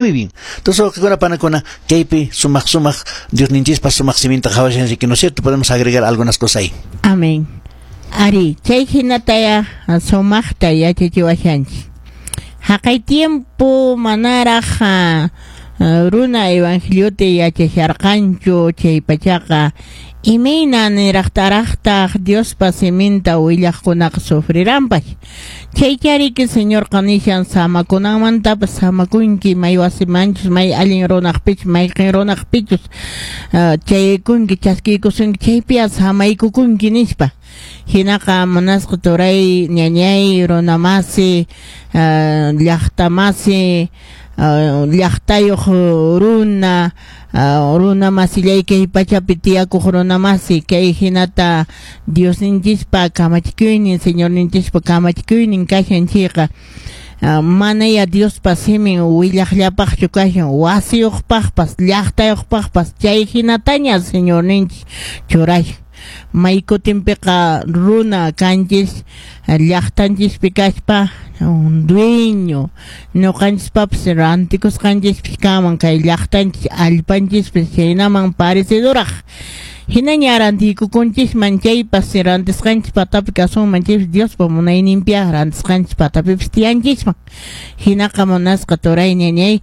Muy bien. Entonces, wawqikuna panakuna, kaypi sumaq sumaq Diosninchispa sumaq siminta qhawashanchik, ¿no es cierto? Podemos agregar algunas cosas ahí. Amén. Ari, chay hinataya sumaqta yachachiwashanchik. Haqay tiempo manaraq runa evangeliota yachasharqanchu chay pachaqa, imayna niraqtaraqtaq Diospa siminta willaqkunaqa sufriranpas. Chaychariki Señorqa nishan samakunanmantapas samakunki, may wasimanchus, may allin runaqpichus, mayqin runaqpichus chayaykunki, chaskiykusunki, chaypiya samaykukunki nispa. Hinaqa munasqa turay, ñañay, runamasi, llaqtamasi, llaqtayuq runa, runamasillay kay pachapi tiyakuq runamasi, kay hinata Diosninchispa kamachikuynin, Señorninchispa kamachikuynin kashan chayqa, manaya Diospa simin willaqllapaqchu kashan, wasiyuqpaqpas, llaqtayuqpaqpas, chay hinataña Señorninchis churashan. May kutinpiqa runa kanchis llaqtanchispi kaspa dueño, ñuqanchispapas rantikusqanchispis kanman kay llaqtanchis allpanchispis chaynaman parecidoraq. Hinaña rantiykukunchisman chaypas rantisqanchis patapi kasunman chaypas Diospa munayninpiaq rantisqanchis patapipis tiyanchisman. Hinaqa munasqa turay ñañay,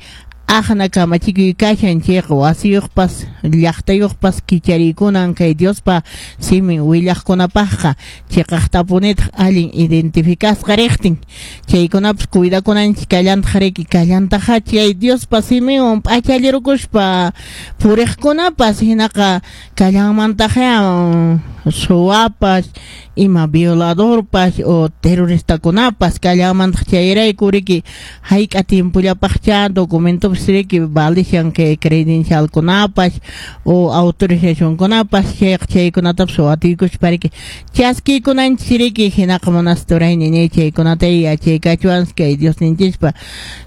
aqna kamachikuy kashan chayqa wasiyuqpas llaqtayuqpas kichariykunan kay Diospa simin willaqkunapaqqa, chiqaqtapunitaq allin identificasqa riqtin. Chaykunapas cuidakunanchis kallantaq riki, kallantaqa chay Diospa siminwan p'achallirukuspa puriqkunapas, hinaqa kallanmantaqya suwapas, ima violadorpas o terroristakunapas kallanmantaq. Chayrayku riki hayk'a tiempollapaqcha documentopas riki valishan kay credencialkunapas o autorizacionkunapas, chayqa chaykunatapas watiykuspa riki chaskiykunanchis riki. Hinaqa munasqa turay ñañay, chaykunata yachaykachuwan kay Diosninchispa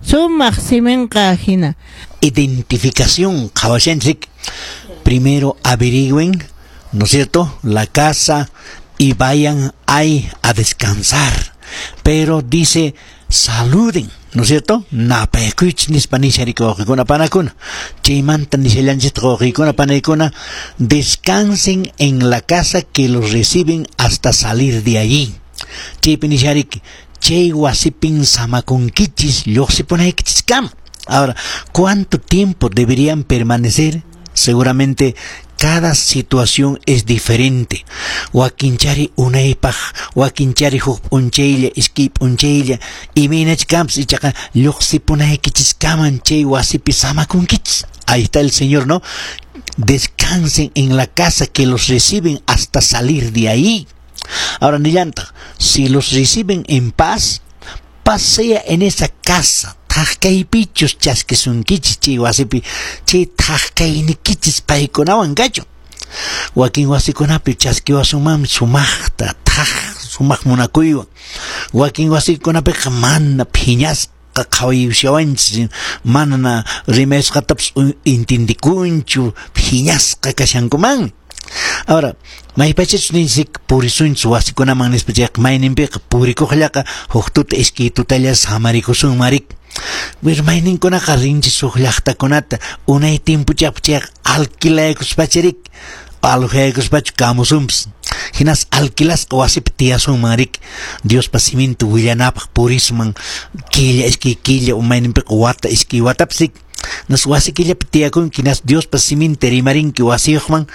sumaq siminqa hina. Identificación, qhawashanchik. Primero averigüen, ¿no es cierto?, la casa y vayan ahí a descansar. Pero dice, saluden, ¿no es cierto? Napaykuychis nispa nisharika wawqikuna panakuna. Chaymanta nishallanchik wawqikuna panaykuna, descansen en la casa que los reciben hasta salir de allí. Chaypi nishariki, chay wasipin samakunkichis lluqsipunaykichiskama. Ahora, ¿cuánto tiempo deberían permanecer? Seguramente cada situación es diferente. Wakinchari unaypaq, wakinchari huk p'unchaylla, iskay p'unchaylla, imaynach kanpas, ichaqa lluqsipunaykichiskaman chay wasipi samakunkichis. Ahí está el Señor, ¿no? Descansen en la casa que los reciben hasta salir de ahí. Ahora, nillantaq, si los reciben en paz, paz sea en esa casa. Thak kaypichus chaskisunkichis chay wasipi, chay thak kaynikichis paykunawan kachun. Wakin wasikunapi chaskiwasunmanmi sumaqta, thak sumaq munakuywan. Wakin wasikunapiqa mana phiñasqa qhawayushawanchis, mana rimayasqatapas entendikunchu, phiñasqa kashankuman. Ahora, maypachachus ninchik purisunchis wasikunaman nispa chayqa, mayninpiqa purikuqllaqa huk tuta iskay tutalla samarikusunman rik. Pero mayninkunaqa rinchis huk llaqtakunata unay tiempochapaq chayqa alquilaykuspacha rik, alojaykuspachu kamusunpas. Hinas alquilasqa wasipi tiyasunman rik, Diospa siminta willanapaq purisman killa, iskay killa, mayninpiqa wata, iskay watapas rik. Nas wasikillapi tiyakunki, nas Diospa siminta rimarinki wasiyuqman,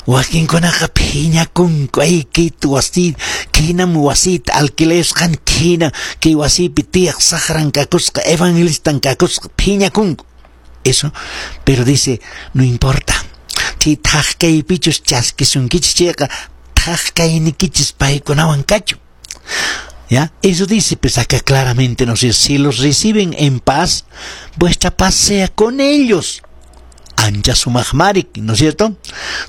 wakinkunaqa phiñakunku, ay kayta wasi, kinam wasita alquilayusqan, kina kay wasipi tiyaq saqran kakusqa, evangelistan kakusqa, phiñakunku. Eso, pero dice, no importa. Chay thak kaypichus chaskisunkichis chayqa, thak kaynikichis paykunawan kachun. ¿Ya? Eso dice, pues acá claramente nos dice, si los reciben en paz, vuestra paz sea con ellos. Ancha sumaqmarik, ¿no es cierto?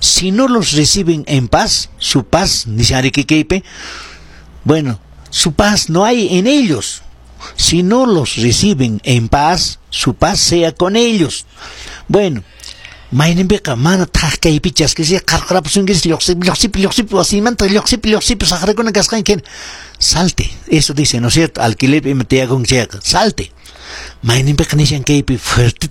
Si no los reciben en paz, su paz, dice Arequiqueipe, bueno, su paz no hay en ellos. Si no los reciben en paz, su paz sea con ellos. Bueno, mayninpiqa mana thak kaypi chaskisi qarqarapusunkichis, lluqsipi, lluqsipi, lluqsipi wasimanta, lluqsipi, lluqsipi saqrakuna kasqanki, salte. Eso dice, ¿no es cierto? Alquilerpi ima tiyakunki chayqa, salte. Mayninpiqa nishan kaypi fuerteta.